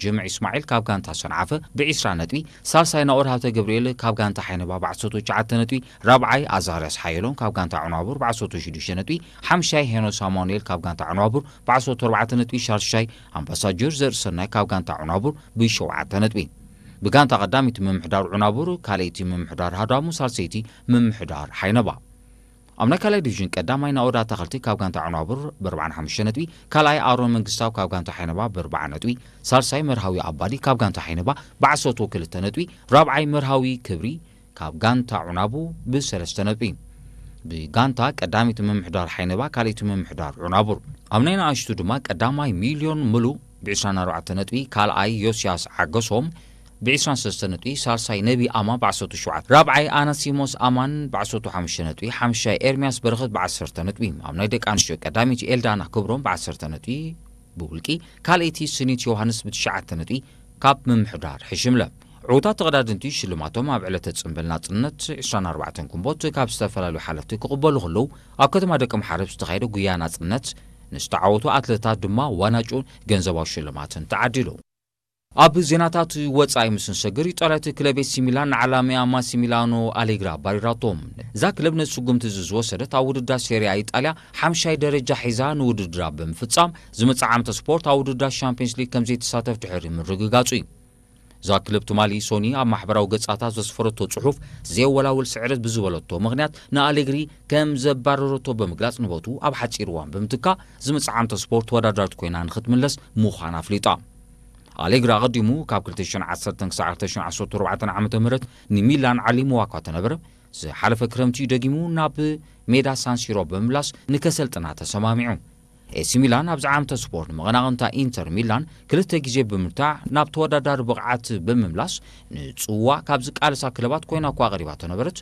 ጅምዕ ኢስማዒል ካብ ጋንታ ሰንዓፈ ብ20 ነጥቢ፣ ሳልሳይ ናኦድ ሃብተ ገብርኤል ካብ ጋንታ ሓይነባ ብ19 ነጥቢ፣ ራብዓይ ኣዛርያስ ሓየሎም ካብ ጋንታ ዑናቡር ብ16 ነጥቢ፣ ሓምሻይ ሄኖስ ኣማኑኤል ካብ ጋንታ ዑናቡር ብ14 ነጥቢ፣ ሻልሻይ ኣምባሳጀር ዘርእሰናይ ካብ ጋንታ ዑናቡር ብ7 ነጥቢ። ብጋንታ ቀዳሚት ምምሕዳር ዑናቡር፣ ካልኣይቲ ምምሕዳር ሃዳሙ፣ ሳልሰይቲ ምምሕዳር ሓይነባ። ኣብ ናይ ካልኣይ ዲቪዥን ቀዳማይ ናኦድ ኣታኸልቲ ካብ ጋንታ ዑናቡር ብ45 ነጥቢ፣ ካልኣይ ኣሮን መንግስታው ካብ ጋንታ ሓይነባ ብ40 ነጥቢ፣ ሳልሳይ መርሃዊ ኣባዲ ካብ ጋንታ ሓይነባ ብ12 ነጥቢ፣ ራብዓይ መርሃዊ ክብሪ ካብ ጋንታ ዑናቡ ብ3 ነጥቢ። ብጋንታ ቀዳሚት ምምሕዳር ሓይነባ፣ ካልኣይቲ ምምሕዳር ዑናቡር። ኣብ ናይ ንኣሽቱ ድማ ቀዳማይ ሚልዮን ምሉእ ብ24 ነጥቢ፣ ካልኣይ ዮስያስ ዓገሶም ብ23 ነጥቢ፣ ሳልሳይ ነቢ ኣማን ብ17፣ ራብዓይ ኣናሲሞስ ኣማን ብ15 ነጥቢ፣ ሓምሻይ ኤርሚያስ በረኸት ብ10 ነጥቢ። ኣብ ናይ ደቂ ኣንስትዮ ቀዳሚት ኤልዳና ክብሮም ብ10 ነጥቢ ብውልቂ፣ ካልኣይቲ ስኒት ዮሃንስ ብ9 ነጥቢ ካብ ምምሕዳር ሕሽምለ። ዕዉታት ተቐዳደምቲ ሽልማቶም ኣብ ዕለተ ጽምብል ናጽነት 24 ግንቦት ካብ ዝተፈላለዩ ሓለፍቲ ክቕበሉ ከለዉ፣ ኣብ ከተማ ደቂ ምሓረብ ዝተኻየደ ጉያ ናጽነት ንዝተዓወቱ ኣትለታት ድማ ዋንጫን ገንዘባዊ ሽልማትን ተዓዲሉ። ኣብ ዜናታት ወጻኢ ምስ ንሰግር፣ ኢጣልያዊት ክለብ ኤሲ ሚላን ንዓላሚኣ ማሲሚላኖ ኣሌግራ ኣባሪራቶ። እዛ ክለብ ነዚ ስጉምቲ እዚ ዝወሰደት ኣብ ውድድር ሴሪያ ኢጣልያ ሓምሻይ ደረጃ ሒዛ ንውድድራ ብምፍጻም፣ ዝመጽእ ዓመተ ስፖርት ኣብ ውድድር ሻምፒዮንስ ሊግ ከም ዘይትሳተፍ ድሕሪ ምርግጋጹ እዩ። እዛ ክለብ ትማሊ ሶኒ ኣብ ማሕበራዊ ገጻታ ዘስፈረቶ ጽሑፍ፣ ዘየወላውል ስዕረት ብዝበለቶ ምኽንያት ንኣሌግሪ ከም ዘባረረቶ ብምግላጽ፣ ንቦቱ ኣብ ሓጺር እዋን ብምትካእ፣ ዝመጽእ ዓመተ ስፖርት ተወዳዳሪት ኮይና ንኽትምለስ ምዃና ኣፍሊጣ። ኣሌግሪ ኣቐዲሙ ካብ 2010 ክሳዕ 2014 ዓ.ም ንሚላን ዓሊምዋ እኳ እንተነበረ፣ ዝሓለፈ ክረምቲ ደጊሙ ናብ ሜዳ ሳንሲሮ ብምምላስ ንከሰልጥና ተሰማሚዑ። ኤሲ ሚላን ኣብዚ ዓመተ ስፖርት መቐናቕንታ ኢንተር ሚላን ክልተ ግዜ ብምርታዕ ናብ ተወዳዳሪ ብቕዓት ብምምላስ ንጽዋ ካብ ዝቃለሳ ክለባት ኮይና እኳ ቀሪባ ተነበረት፣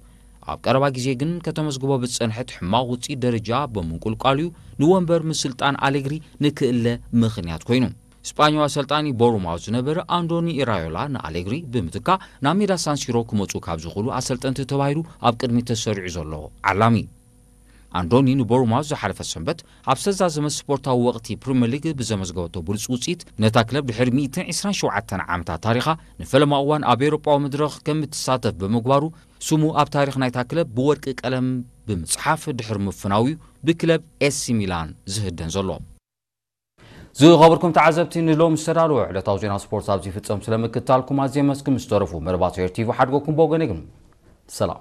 ኣብ ቀረባ ግዜ ግን ከተመዝግቦ ብዝጸንሐት ሕማቕ ውጽኢት ደረጃ ብምንቁልቋል'ዩ ንወንበር ምስልጣን ኣሌግሪ ንክእለ ምኽንያት ኮይኑ። ስጳኛዊ ኣሰልጣኒ ቦሩማውዝ ዝነበረ ኣንዶኒ ኢራዮላ ንኣሌግሪ ብምትካእ ናብ ሜዳ ሳንሲሮ ክመጹ ካብ ዝኽእሉ ኣሰልጠንቲ ተባሂሉ ኣብ ቅድሚት ተሰሪዑ ዘሎ ዓላሚ። ኣንዶኒ ንቦሩማውዝ ዝሓለፈ ሰንበት ኣብ ዝተዛዘመ ስፖርታዊ ወቕቲ ፕሪምየር ሊግ ብዘመዝገበቶ ብሉጽ ውጽኢት፣ ነታ ክለብ ድሕሪ 127 ዓመታት ታሪኻ ንፈለማ እዋን ኣብ ኤውሮጳዊ መድረኽ ከም እትሳተፍ ብምግባሩ፣ ስሙ ኣብ ታሪኽ ናይታ ክለብ ብወርቂ ቀለም ብምጽሓፍ ድሕሪ ምፍናው'ዩ ብክለብ ኤሲ ሚላን ዝህደን ዘሎ። ዝኸበርኩም ተዓዘብቲ፣ ንሎም ዝተዳለወ ዕለታዊ ዜና ስፖርት ኣብዚ ይፍጸም። ስለምክትታልኩም ኣዝየ መስግን። ምስ ተረፉ መርባት ኤር ቲቪ ሓድጎኩም ብወገነይ ግን ሰላም።